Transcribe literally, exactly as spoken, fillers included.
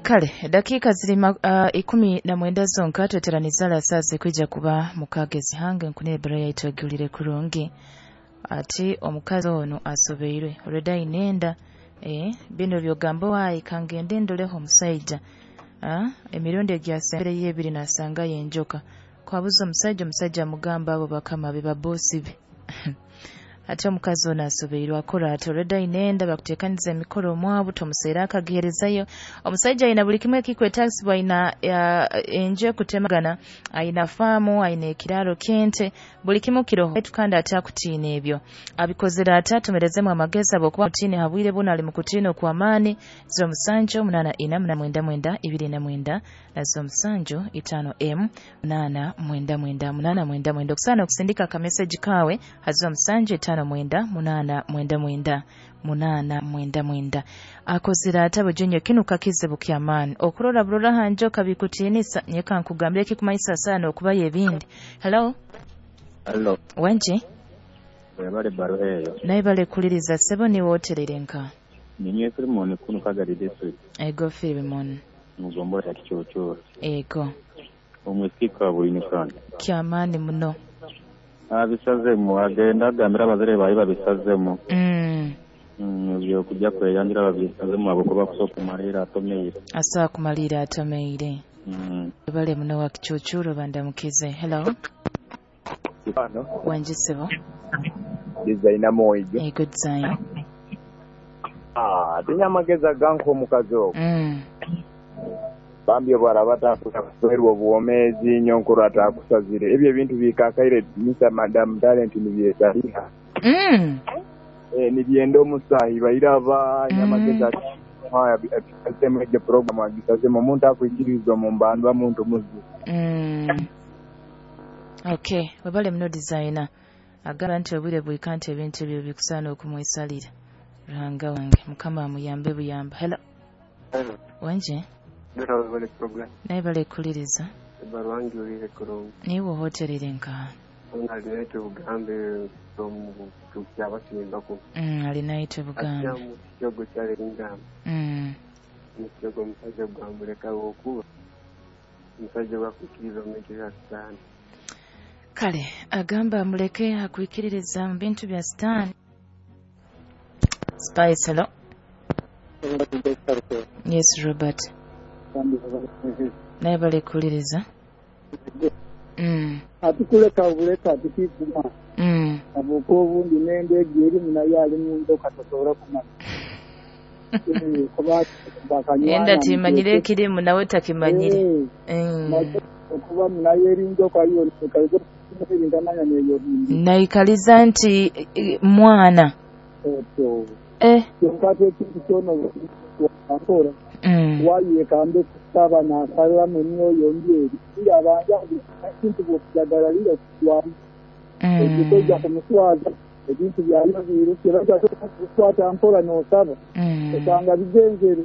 Kale dakiika ziri uh, ikumi na mwenda zonka tweteraniza lasasi kwija kuba mukagezi hange nkunire ebara yaitu egulire kurungi. Ati omukazi ono asobeirwe already ayina eh, bino byogamba waayi kangende ndoleho omusaija. Ah, emirundi egyasembereyo ebiri nasangayo enjoka. Kwabuza omusajja, omusajja amugamba abo bakama be babosi be. Ate omukazi ono asobeirwe akora ati already ayina bakuteekaniza emikoro omwabu tomuseera akagiherezayo. Omusajja ayina buli kimu ekikwetagisibwa, ayina enju ekutemagana, ayina faamu, ayina ekiraaro ky'ente, buli kimu kiroho. Baitu kandi ate akutiina ebyo abikozere ate atumerezemu amagezi habwokuba mutiine habwire buno ali mu kutiina okw'amaani. Ziro musanju munaana ina munaana mwenda mwenda ibiri na mwenda na ziro musanju itaano emu munaana mwenda mwenda munaana mwenda mwenda. Okusaana okusindika akameseji kaawe ha ziro musanju itaano mwenda munaana mwenda mwenda munaana mwenda mwenda. Akozere ate bujunyo kinu kakizibu ky'amaani okurora burora ha njoka bikutiinisa. Nyeka nkugambire ekikumanyisa sana okubayo ebindi. Hello. Hello. Wenji webale baruha eyo. Naye bale kuliriza sebo niwe oterere nka ninye Filimoni kuno Kagari district. Ego Filimoni mugombola ya Kichochoro. Ego omwisika bwinikana ky'amaani muno. Abisazemu agenda agambira abazire bayi babisazemu. Mm. Mm, ebyo kujja kweyanjira babisazemu abo kuba kusobola kumalira atomeire. Asobola kumalira atomeire. Mm. Bale muno wa Kichochoro bandamukize. Hello. Ano. Wanji sebo. Designer moijo. Ego design. Ah, tinya amagezi aganka omukazi ogwo. Mm. Bambi obwaraba atakuswerwa obuwomeezi nyonkuru atakusazire. Ebyo ebintu bikakaire Mister Madam Talent nibyesaliha. Mm. Eh, nibyenda omusahi bairaba nyamagezi agisazemu egyo program agisazemu omuntu akwikirizwa mu mbandwa muntu muzi. Mm. Okay, webale muno designer. Agamba nti obwire bwika nti ebintu ebyo bikusaana okumwesalira. Ruhanga wange Mukama amuyambe buyamba. Hello. Hello. Wanje? Ndora program. Naye bale kuliriza. Barwangi ulire kurungi. Niwe hotelire nka. Alinaitwe Bugambe from Kyabasimbaku. Mm, alinaitwe Bugambe. Akyamu kyogo kyalingamba. Mm. Mukyogo omusajja gwamuleka okuba. Omusajja bakwikiriza mu bintu bya Sitaani. Kale agamba amuleke akwikiririza mu bintu bya Sitaani. Spice, hello. Yes, Robert. Naye bale kuliriza. Mm. Atikuleka obuleka atikikuma. Mm. Abuka obundi n'ende egyo erimu naye ali mu njoka tosobola kumanya. Enda timanyire ekirimu nawe takimanyire. Mm. Okuba naye eri njoka yo ntamanya neyo bindi. Naikaliza nti mwana. Otyo. Eh. Kyonka ate ekintu kyona akola. Mm. Wayekambe kusaba n'asalamu emyoyo mbi eri. Abanja ekintu bw'okujagala lira kutwamu. Mm. Ekikojja kumuswaza ebintu byalyo biruke bajja kukwata mpola n'osaba. Mm. Osanga bigenzere.